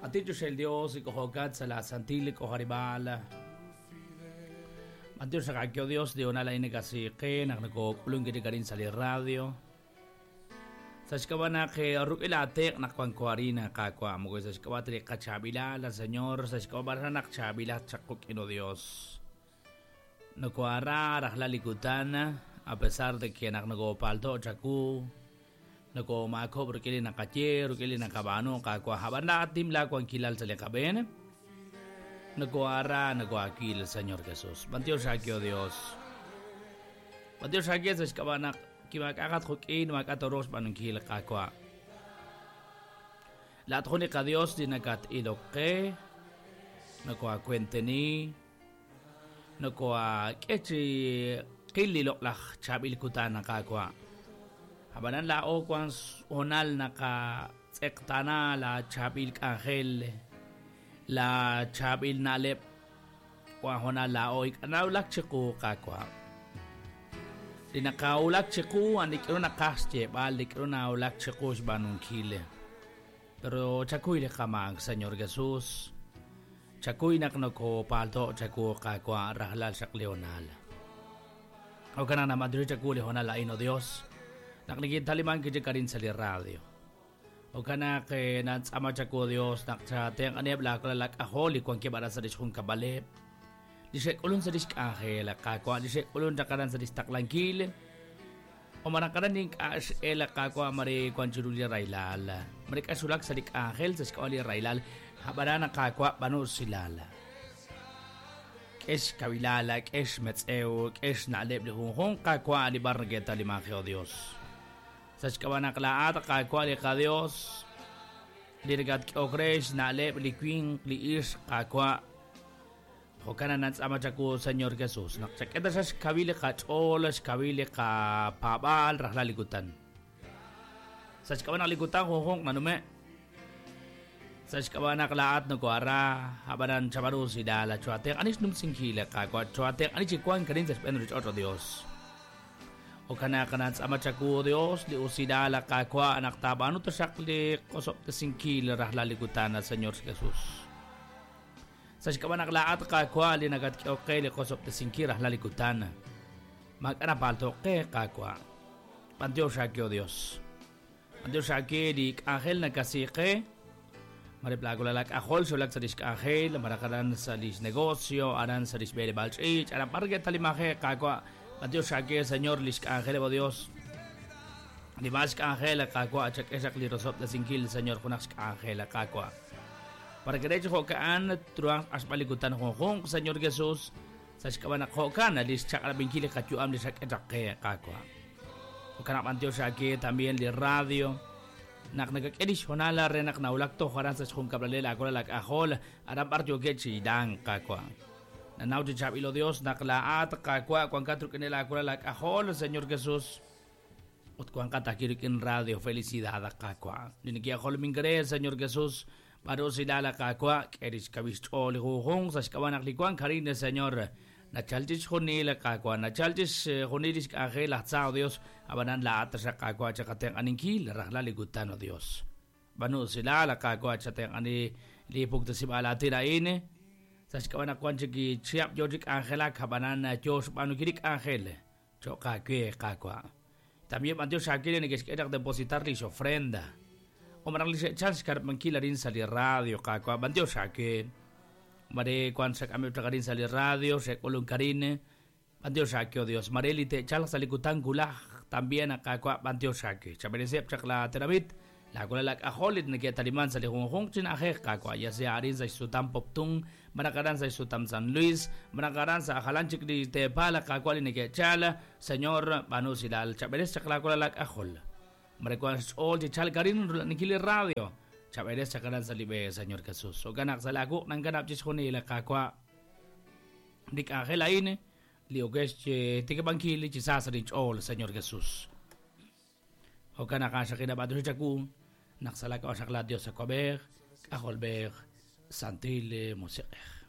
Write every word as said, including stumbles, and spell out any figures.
Aticho el Dios y cojocat sa la santil cojaribal. Mateo sakakio Dios de onala inekasiqe naqnako k'ulun sa li radio. Saxkabana que ruk'ila teq naqwankuarina qaqwa moko saxkabatri qachabila la Señor saxkabara naqchabila chaquk'ino Dios. Nokoara rajlalikutana a pesar de que naqnako palto chaku nako maako ruk'ili naqaye ruk'ili naqabano qaqwa habana tim la kuankilal saliqaben. Nokoara nakoakil Señor Jesús. Bantio shakio Dios. Bantio shakio saxkabana kimak'aqat juk'in mak'atoros b'anunkil qakwa. La tjuni qa Dios dinakat iloqe nokoakuenteni nokoa k'echi qili loqlaj chabil kutana qakwa. Habanan la o kwan honal naqa tz'eqtana la chabil k'anjel la chabil nalep kwan honal la o ik'anawlak chiqu qakwa. Linakaulak chiku anikro nakaxche bal likro naulak chiku xbanunkile. Pero chakuy le kamang Señor Jesús. Chakuy naknoko palto chaku kakwa rahlal shakleonal. O kana na madre chaku le honal aino Dios. Nakligid taliman kijikarin sa li radio. O kana ke natsama chaku Dios nakcha teng aneb la lalak aholi kwan kibara sa dishkun kabale. Lisek ulun sa disk angel kakwa lisek ulun takaran sa distaklangkil o marakaran ding as ela kakwa mari kwanchuruli railal mari kasulak sa dik angel sa skawali railal habarana kakwa banu silala kes kabilala kes metzeu kes naleb lihunhun kakwa ali bargeta limangeo Dios sa skawana klaat kakwa li ka Dios lirgat okresh naleb likwin liis kakwa Jokana nats amachaku Señor Jesús. Nakchaketa sa kabile ka cholas, kabile ka pabal, rahlalikutan. Sa kawana likutan honghong manume. Sa kawana klaat no kuara, habaran chabaru sidala chuate anis num singhila ka kwa chuate anis chikuan karin sa spendrich otro Dios. Okana kanats amachaku Dios li usidala ka kwa anak tabano to sakli kosop te singhila rahlalikutan Señor Jesús. Sa kawanak laat kakwa linagat okay li kosop te sinkira lalikutan. Mag-ana palto ke kakwa. Pantio shakyo Dios. Pantio shakyo di angel na kasike. Mariplago lalak ahol sulak sa disk angel, marakaran sa dis negosyo, aran sa dis bele balchich, aran parge talimaje kakwa. Pantio shakyo Señor lisk angel o Dios. Di mas angel kakwa achak esak li rosop te sinkil Señor kunak angel kakwa. Para que de hecho jokaan truang aspalikutan honghong Señor Jesús sa kawana jokaan alis chakalabingkili kachuam li saketake kakwa. Okana pantio shake también li radio nak nagakedish honala renak naulak to haran sa chun kabralela akola lak ahol aram partio kechi dan kakwa. Nanaw di chabilo Dios naklaat kakwa kwan katru kenela akola lak ahol Señor Jesús. Ut kwan katakirik en radio felicidad kakwa. Ninikia ahol mingre Señor Jesús. Paro silala kakwa, keris kabis choli huhong, sa skawanak likuan karine Señor. Nachalchis junila kakwa, nachalchis junilis angel atzao Dios, abanan la atra kakwa chakateng aninkil, rahlalikutan o Dios. Banu silala kakwa chateng ani lipuk tasibala tiraine, sa skawanak kwan chiki chiap yojik angela kabanan Dios banukirik angel, chokakwe kakwa. También Dios akire ni que depositar li ofrenda. O marang lise chance karap mangkila rin sa li radio kakwa bantio shake mare kwan sak ame rin sa li radio se kolong karine bantio shake o Dios mare lite chal sa likutan gulah también kakwa bantio shake chaberesep chakla teramit la kola lak aholit na taliman sa li honghong chin ahe kakwa ya sea arin sa sutam poptung marakaran sa sutam San Luis marakaran sa akalanchik di tepala kakwa li chala Señor banu silal chaberes chakla kola lak ahol Marekuan all di chalkarin nikili radio. Chaberes chakaran sa libe Señor Jesús. O ganak sa lagu nang ganap jis hunila kakwa. Dik angel aine liogesh tikabangkili chisasa rin all Señor Jesús. O ganak asya kinabado si chaku naksalak o sakla Dios sa kwaber, aholber, santile musiker.